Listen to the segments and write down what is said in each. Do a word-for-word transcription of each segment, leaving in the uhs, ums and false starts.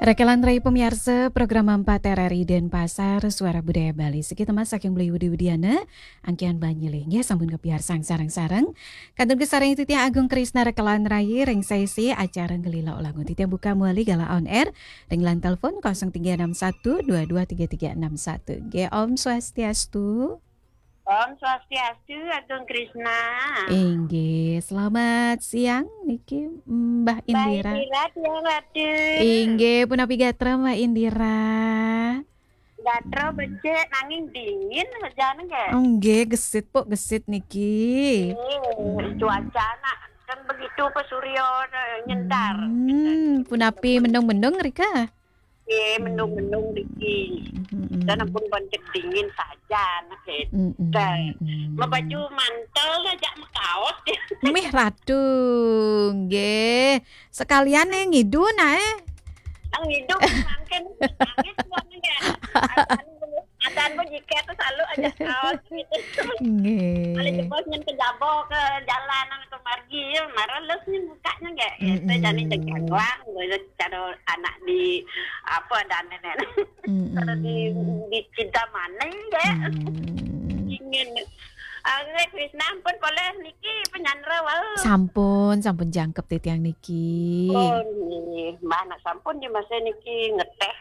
Rakalan rai pamiarsa program empat R R I Denpasar, Suara Budaya Bali. Siki temas saking Beli Widi Widiana, angkian banyilih. Nggih, sampun kapiarsang sareng-sareng. Kantun kasareng titiang Agung Krisna rakalan rai ring sesi acara Ngelila Ulangun. Titiang buka mawali galah on air ring line telepon kosong tiga enam satu dua dua tiga tiga enam satu. Nggih, Om Swastiastu. Om Swastiastu, Agung Krisna. Inggih, selamat siang niki Mbah Mbah Indira. Indira, tiang Ratu. Inggih, punapi gatra Mbah Indira? Gatra becik nanging dingin sajane nggih. Oh, nggih, gesit pok gesit niki. Eh, cuaca nak kan begitu ke surya, eh, nyentar. Hmm, punapi mendung-mendung rika? Nggih, mendung-mendung niki. Mm-mm. Dan ampun pancet dingin saja, nah, gitu. Mm-mm, Dan mm-mm. Mabaju mantel aja makaos. Mih Ratu, nggih. Sekalian nih ngidu nah, eh. Ang ngidu mangkin nangis banget ya. Adan, adan pun jiket tuh selalu aja kaos gitu. Nggih. Paling jebos nyen ke jabo ke jalan ke margi ya, marah les nih mukanya nggak. Itu Mm-mm. Jadi cengkanglang, gitu. Cara anak di apa dan nenek. Mm-mm. Kalau di, di cinta mana ya? Mm. Dingin. Ah, nggih, Krisna ampun polih niki penyandra wau. Sampun, sampun jangkep titiang niki. Oh, nggih. Mbah nak sampun di masa niki ngeteh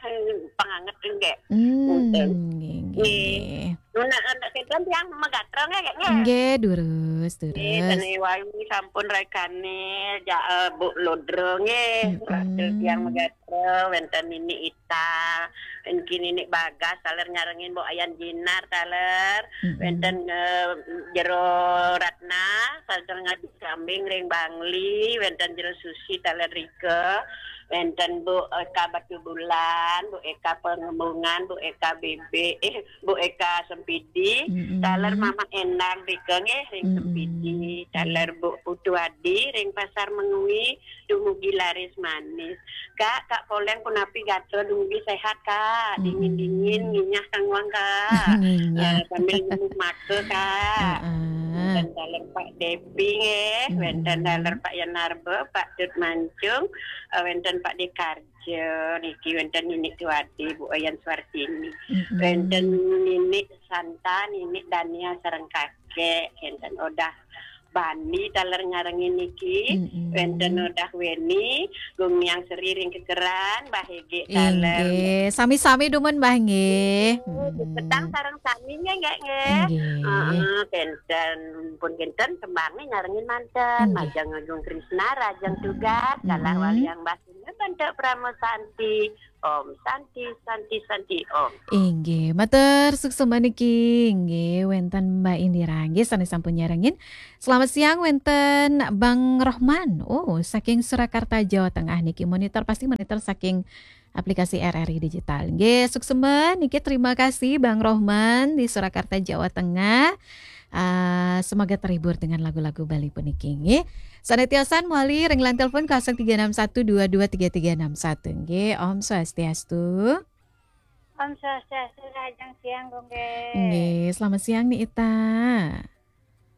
panganget nggih. Hmm, Punten. Nggih, nggih, Nggih. Nggih. Nunas anak setan tiang magatra nggih, nggih. Nggih, durus, durus. Nggih, sane wau sampun raikane ja, eh, Bu Lodro nggih. Mm-mm. Tiang magatra wenten Nini Ita, niki Nini Bagas taler nyarengin Bu Ayan Jinar taler, Mm-mm. Wenten, eh, Jero Ratna, taler ngadi kambing ring Bangli, wenten Jero Susi taler rika, wenten Bu Eka Batubulan, Bu Eka Pengembungan, Bu Eka B B, eh, Bu Eka Sempidi, Mm-mm. Taler Mama Endang rika nggih ring Mm-mm. Sempidi, taler Bu Putu Adi ring Pasar Mengwi, dumugi laris manis. Kak, Kak Poleng punapi gatra dumugi sehat, Kak. Mm-mm. Dingin-dingin nginyah kangwang, Kak. Nginyah. Eh, sambil nemu mata, Kak. Heeh. Wenten taler Pak Depi nggih, wenten Mm-mm. Taler Pak Yanarba, Pak Tut Mancung, eh, wenten Pak Dekar. Ja, niki wenten Nini Tuadi, Bu Oyan Suartini. Mm-mm. Wenten Nini Santa, Nini Dania sareng kakek, wenten Odah Bani taler nyarengin niki, Mm-mm. Wenten Odah Weni, Gumiang Seri ring Kekeran, Mbah Hege taler. Inggih, sami-sami dumun Mbah nggih. Nggih, Mm-mm. Petang sareng sami nggih, nggih, nggih. Nggih. Heeh, wenten pun wenten tembangnya nyarengin manten, Nggih. Majeng Agung Krisna, Rajang Tugas, Mm-mm. Galah Waliang Bas Bantuk Prama Santi. Om Santi, Santi, Santi, Om. Inggih, matur suksma niki. Inggih, wenten Mbak Indira nggih sane sampun nyarengin. Selamat siang wenten Bang Rohman. Oh, saking Surakarta, Jawa Tengah niki monitor, pasti monitor saking aplikasi R R I Digital. Nggih, suksma niki, terima kasih Bang Rohman di Surakarta, Jawa Tengah. Ah, semoga terhibur dengan lagu-lagu Bali puniki nggih. Sane tiosan mawali ring line telepon kosong tiga enam satu dua dua tiga tiga enam satu nggih. Om Swastiastu. Om Swastiastu, rahajeng siang, Gung Ge. Nggih, selamat siang Ni Ita.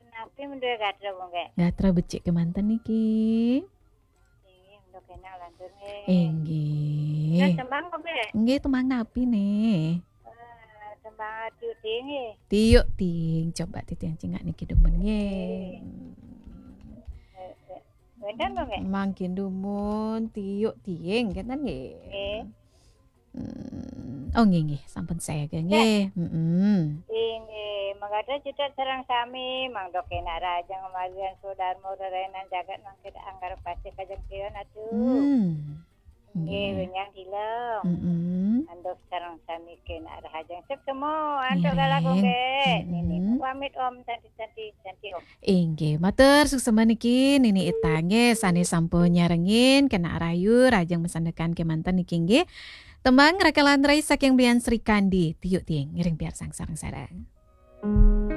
Napi menduwe gatra, Gung Ge? Gatra becik kemanten niki. Inggih, untuk enak lantur nggih. Inggih. Nah, tembang, Gung Ge? Nggih, tembang napi nih? Eh, tembang Tiuk Tiing nggih. Tiuk Tiing, coba titiang cingak niki dumun nggih. Eh, eh, wenten, Gung Ge? Mangkin dumun Tiuk Tiing, kenten nggih. Nggih. Hmm. Oh, nggih, nggih, sampun saya nggih. Nggih. Mm-mm. Inggih, mangkada cedhak sareng sami, mangda kenak rahajeng malian swadharma rerainan jagat mangkin anggar pasih kajeng tiun atu. Hmm. Nggih, nggih. Wenjang dilem. Mm-mm. Antuk sareng sami kenak rahajeng suksma, antuk galah Gung Ge. Nggih. Nini, mm-mm, pamit Om, Santi, Santi, Santi Om. Inggih, matur suksma niki Nini Ita nggih sane sampun nyarengin, kenak rahayu, rahajeng masandekan kemanten niki nggih. Tembang rakalan rai saking Bian Sri Kandi, Tiuk Tiing, ngiring piarsang sareng-sareng.